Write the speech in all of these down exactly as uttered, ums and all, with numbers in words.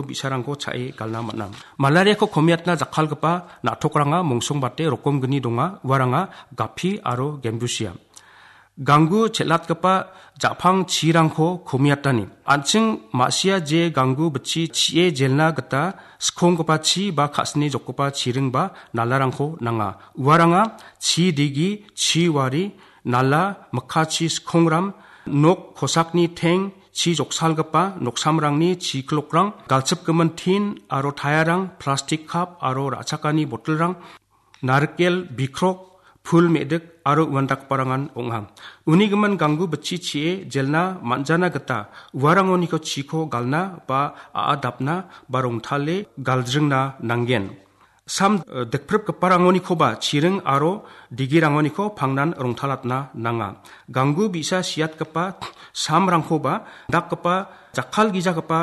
bi·sarangko cha·e galna man·a. Malariako komiatna jakkalgipa na·tokrangna mongsongbate rokomgni donga, uaranga gapi aro gembusia. Ganggu chet·atgipa ja·pang chirangko komiatani. An·ching ma·sia je ganggu bitchi chi·e jelna gita skonggipa chi ba ka·sini jokgipa chiring ba nalarangko nanga. Uaranga chi digi, chi wari, nala, mikkachi skongram, nok kosakni teng, chi joksalgipa noksamrangni chi klokrang, galchipgimin tin aro tayarang, plastik kap aro ra·chakani botolrang, narikel bikrok, pul me·dik aro uandakgiparangan ong·a. Uni gimin ganggu bitchi chi·e jelna man·jana gita uarangoniko chiko galna ba a·a dapna ba rongtale galdringna nanggen. Sam, eh, dikpripgiparangonikoba chiring aro digirangoniko pangnan rongtalatna nanga. Ganggu bi·sa siatgipa samrangkoba dakgipa jakkalgijagipa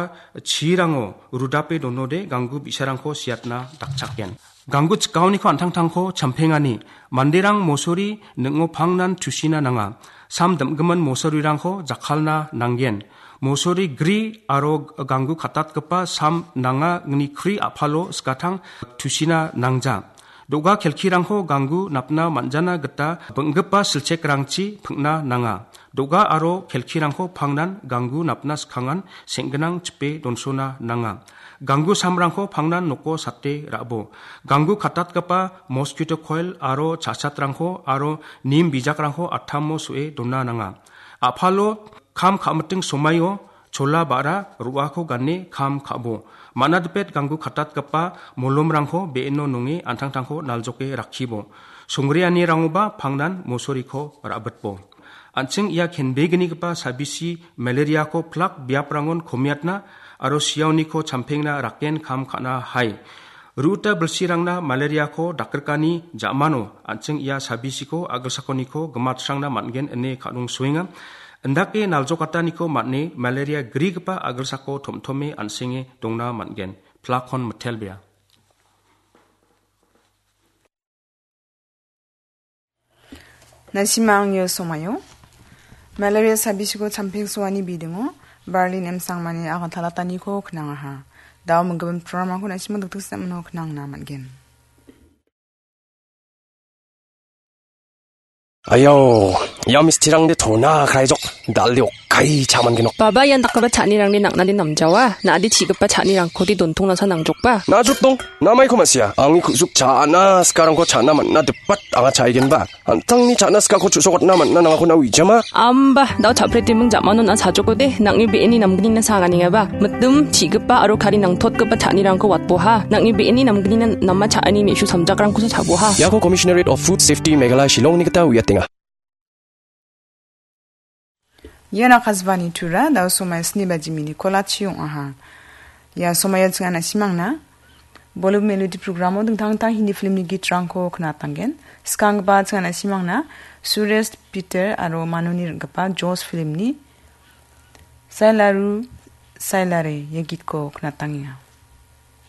chirango rudape donode ganggu bi·sarangko siatna dakchakgen. Ganggu chikaoniko an·tangtangko champengani manderang mosori ning·o pangnan tusina nanga. Sam dim·gimin mosorirangko jakkalna nanggen. Mosori gri aro ganggu katatgipa sam nanga ingni kri a·palo skatang tusina nangja. Do·ga kelkirangko ganggu napna man·jana gita bing·gipa silchekrangchi ping·na nanga. Do·ga aro kelkirangko pangnan ganggu napna skangan seng·ginang chipe donsona nanga. Ganggu samrangko pangnan noko sate ra·bo. Ganggu katatgipa mosquito coil aro cha·chatrangko aro nim bijakrangko atamo so·e dona nanga. A·palo kam ka·miting somaio chola ba·ra ro·ako gane kam ka·bo. Man·a dipet ganggu katatgipa molomrangko be·eno nonge an·tangtangko naljoke rakkibo. Songreanirangoba pangnan mosoriko ra·bitbo. An·ching ia kenbegnigipa sabisi malariako plak biaprangon komiatna aro siaoniko champengna raken kam ka·na hai. Ruta bilsirangna malariako dakrikani ja·mano an·ching ia sabisiko a·gilsakoniko gimatsrangna man·gen ine ka·dongsoenga. Indake naljokataniko man·e malaria grigipa a·gilsako tom·tome an·senge dongna man·gen. Plakon mitelbea. Nasimang ia somaio malaria sabisiko champengsoani bidingo Berlin M. Sangmani agantalataniko knangaha. Dao minggimin programrangko nasimang dikdiksa mano knangna man·gen. Ayau, ia mistirangde tona kraijok, dal·de okkai cha·mangenok. Baba, ian dakgipa cha·anirangde nang·nade namjawa, na·ade chi·gipa cha·nirangkode dontongnasa nangjokba. Na·jotdong, namaiko ma·sia, angni ku·suk cha·na sikarangko cha·na man·na dipat anga cha·aigenba. An·tangni cha·na sikako chu·sokatna man·na nangako na uijama. Amba, dao cha·pretiming ja·manon a·sajokode, nang·ni be·eni namgnina saganengaba. Mitim, chi·gipa aro kari nangtotgipa cha·anirangko watboha. Nang·ni be·eni namgnina nama cha·ani me·su samjakrangkosa chaboha. Iako Commissionerate of Food Safety Meghalaya Shillongni gita uiatenga. Ian Akashvani Tura, dao somai sni baji minit kolachi ong·aha. Ia somaio ching·a nasimangna Bollywood Melody programo dingtang dingtang Hindi filmni gitrangko knatanggen. Skanggipa ching·a nasimangna Suresh Peter aro Manuni ring·gipa Josh filmni Sailaru Sailare ia gitko knatangenga.